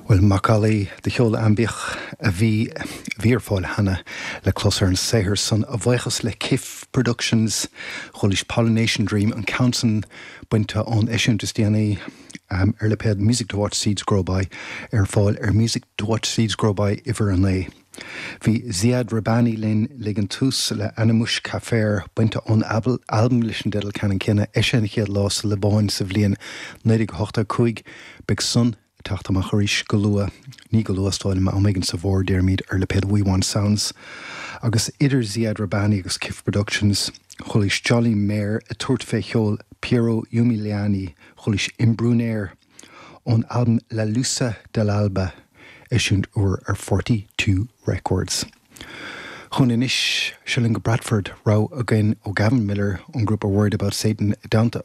Bhuel, macallaí de cheol aimbiach a bhí a bhí ar fáil cheana le clos ar an saothar san, a bhuíochas le Kif Productions. Chualaís Pollination Dream, an ceann san bainte ón eisiúint is déanaí ar lipéad Music to Watch Seeds Grow By, ar fáil ar Music to Watch Seeds Grow By uimhir 9. Bhí Ziad Rahbani linn ag an tús le Ana Mouch Kafer, bainte ón albam leis an dteideal ceannann céanna, eisithe an chéad lá sa Liobáin sa bhliain 1985. Beidh san ag teacht amach arís go luath, ní go luath, is dóigh liom, am éigin sa bhfómhar, déarfaimid, ar lipéad We Want Sounds. Agus idir Ziad Rahbani agus Kif Productions, chualaís Jolly Mair ag tabhairt fé cheol Piero Umiliani, chualaís Imbrunaire ón albam La Luce dell'Alba, eisiúint úr ar 42 Records. Chugainn anois, seo linn go Bradford, rogha againn ó Gavin Millar ón ngrúpa Worried About Satan i dteannta a.